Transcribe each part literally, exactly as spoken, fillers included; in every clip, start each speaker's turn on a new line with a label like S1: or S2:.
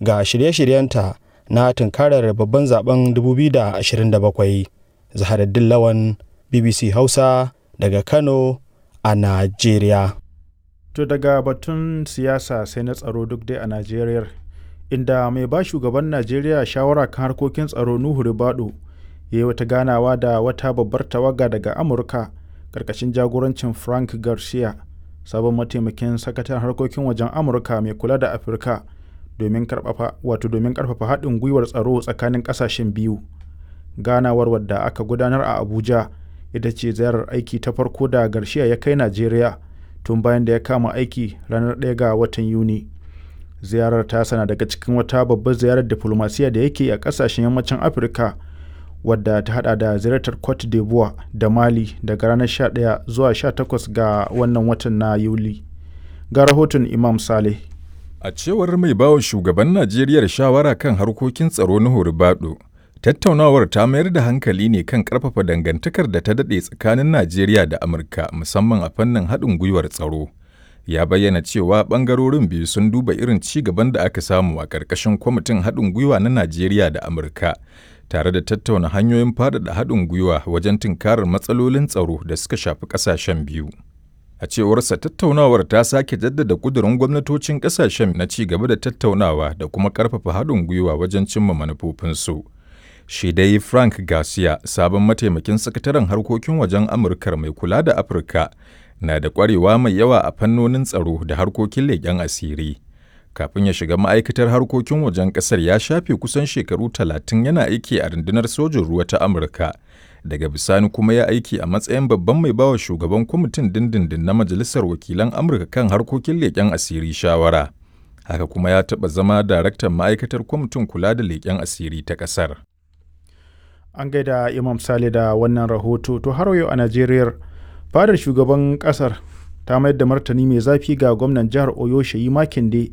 S1: ga shirye-shiryenta na tunkarar babban zaben dubu biyu da ashirin da bakwai. Zaharaddin Lawan, B B C Hausa, daga Kano a Najeriya.
S2: To, daga batun siyasa sai na tsaro, duk dai a Najeriya, inda mai ba shugaban Najeriya shawara kan harkokin tsaro, Nuhu Ribadu, ya yi wata ganawa da wata babbar tawaga daga Amurka karkashin jagorancin Frank Garcia, sabon mataimakin sakataren harkokin wajen Amurka mai kula da Afirka, domin karfafa wato domin karfafa haɗin gwiwar tsaro tsakanin ƙasashen biyu. Ganawar, wadda aka gudanar a Abuja, ita ce ziyarar aiki ta farko da Garcia ya kai Najeriya tun bayan da ya kama aiki ranar ɗaya ga watan Yuni. Ziyarar ta sana daga cikin wata babbar ziyarar diflomasiya da yake a ƙasashen yammacin Afirka, wadda ta hada da ziyartar Cote d'Ivoire da Mali daga ranar sha ɗaya zuwa sha takwas ga wannan watan na Yuli. Ga rahoton Imam Saleh.
S3: A cewar mai bawa shugaban Najeriya shawara kan harkokin tsaro na Ribadu, tattaunawar ta mayar da hankali ne kan ƙarfafa dangantakar da ta daɗe tsakanin Najeriya da Amurka, musamman a fannin haɗin gwiwar tsaro. Ya bayyana cewa ɓangarorin biyu sun duba irin ci gaban da aka samu a ƙarƙashin kwamitin haɗin gwiwa na Najeriya da Amurka, tare da tattauna hanyoyin faɗaɗa haɗin gwiwa wajen tunkarar matsalolin tsaro da suka shafi ƙasashen biyu. A cewarsa, tattaunawar ta sake jaddada ƙudurin gwamnatocin ƙasashen na ci gaba da tattaunawa da kuma ƙarfafa haɗin gwiwa wajen cimma manufofinsu. Shi dai Frank Garcia, sabon mataimakin sakataren harkokin wajen Amurkar mai kula da Afirka, na da ƙwarewa mai yawa a fannonin tsaro da harkokin leƙen asiri. Kafin ya shiga ma'aikatar harkokin wajen ƙasar, ya shafe kusan shekaru talatin yana aiki a rundunar sojin ruwa ta Amurka. Daga bisani kuma ya aiki a matsayin babban mai bawa shugaban kwamitin dindindin na Majalisar Wakilan Amurka kan harkokin leƙen asiri shawara. Haka kuma ya taɓa zama daraktan ma'aikatar kwamitin kula da leƙen asiri ta ƙasar.
S2: An gaida Imam Sale da wannan rahoto. To, har yau a Najeriya, fadar shugaban kasar ta mayar da martani mai zafi ga gwamnan jihar Oyo, Sheyi Makinde,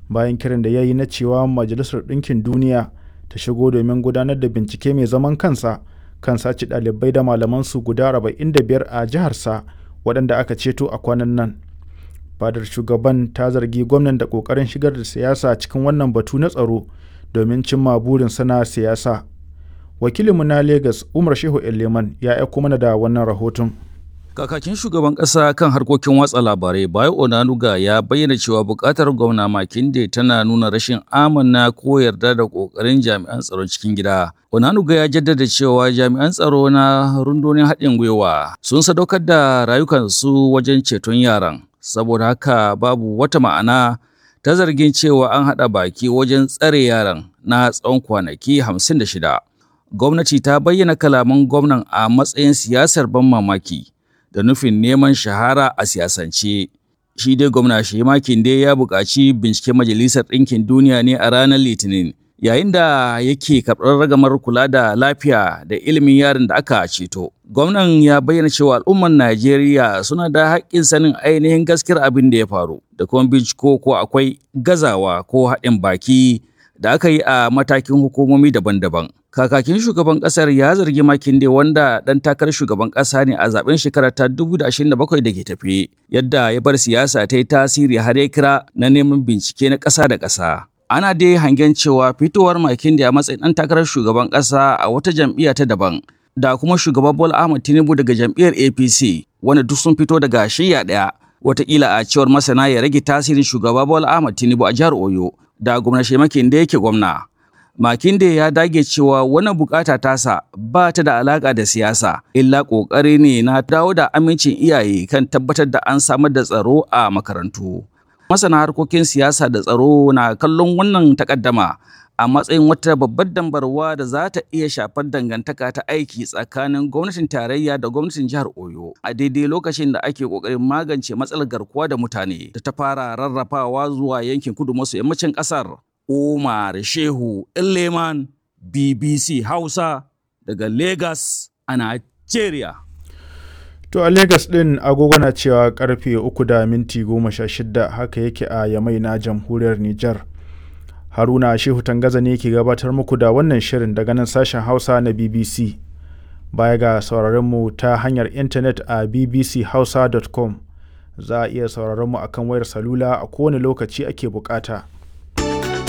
S2: bayan kiran da ya yi na cewa Majalisar Ɗinkin Duniya ta shigo domin gudanar da bincike mai zaman kansa kan sace ɗalibai da malamansu guda arba'in da biyar a jiharsa waɗanda aka ceto a kwanan nan. Fadar shugaban ta zargi gwamnan da ƙoƙarin shigar da siyasa cikin wannan batu na tsaro domin cimma burin sana siyasa. Wakilinmu na Lagos, Umar Shehu Eleman, ya aiko mana da wannan rahoton.
S4: Kakakin shugaban ƙasa kan harkokin watsa labarai, Bayo Onanuga, ya bayyana cewa buƙatar gwamna Makinde tana nuna rashin amana ko yarda da ƙoƙarin jami'an tsaron cikin gida. Onanuga ya jaddada cewa jami'an tsaro na rundunar haɗin gwiwa sun sadaukar da rayukansu wajen ceton yaran. Saboda haka babu wata ma'ana ta zargin cewa an haɗa baki wajen tsare yaran na tsawon kwanaki hamsin da shida. Gwamnati ta bayyana kalaman gwamnan a matsayin siyasar ban mamaki da nufin neman shahara a siyasance. Shi dai gwamna Shehi Makinde ya buƙaci binciken Majalisar Ɗinkin Duniya ne a ranar Litinin, yayin da yake karɓar ragamar kula da lafiya da ilimin yaran da aka ceto. Gwamnan ya bayyana cewa al'ummar Najeriya suna da haƙƙin sanin ainihin gaskiyar abin da ya faru da kuma binciko ko akwai gazawa ko haɗin baki da aka yi a matakin hukumomi daban-daban. Kakakin shugaban kasar ya zargi Makinde, wanda dan takarar shugaban kasa ne a zaben shekara ta dubu biyu da ashirin da bakwai da ke tafe, yadda ya bar siyasa ta yi tasiri har ya kira na neman bincike na ƙasa da ƙasa. Ana dai hangen cewa fitowar Makinde a matsayin dan takarar shugaban kasa a wata jam'iyya ta daban da kuma shugaban Bola Ahmed Tinubu daga jam'iyyar A P C, wanda duk sun fito daga shiyya ɗaya, watakila a cewar masana ya rage tasirin shugaba Bola Ahmed Tinubu a jihar Oyo da gwamna Makinde yake gwamna. Makinde ya dage cewa wannan bukata tasa ba ta da alaka da siyasa, illa kokari ne na dawo da amincin iyaye kan tabbatar da an samar da tsaro a makarantu. Masana harkokin siyasa da tsaro na kallon wannan takaddama a matsayin wata babbar dambarwa da za ta iya shafar dangantaka ta aiki tsakanin gwamnatin tarayya da gwamnatin jihar Oyo a daidai lokacin da ake kokarin magance matsalar garkuwa da mutane da ta fara rarrafawa zuwa yankin kudu maso yammacin kasar. Umar Shehu Leman, B B C Hausa, daga Lagos a Nigeria.
S2: To, a Lagos ɗin agogo na cewa karfe uku da minti goma sha shida, haka yake a Yamai na jamhuriyar Nijar. Haruna Shehu Tangaza ne ke gabatar muku da wannan shirin daga nan sashen Hausa na B B C. Baya ga sauraron mu ta hanyar intanet a B B C hausa dot com, za a iya sauraron mu akan wayar salula a kowane lokaci ake bukata.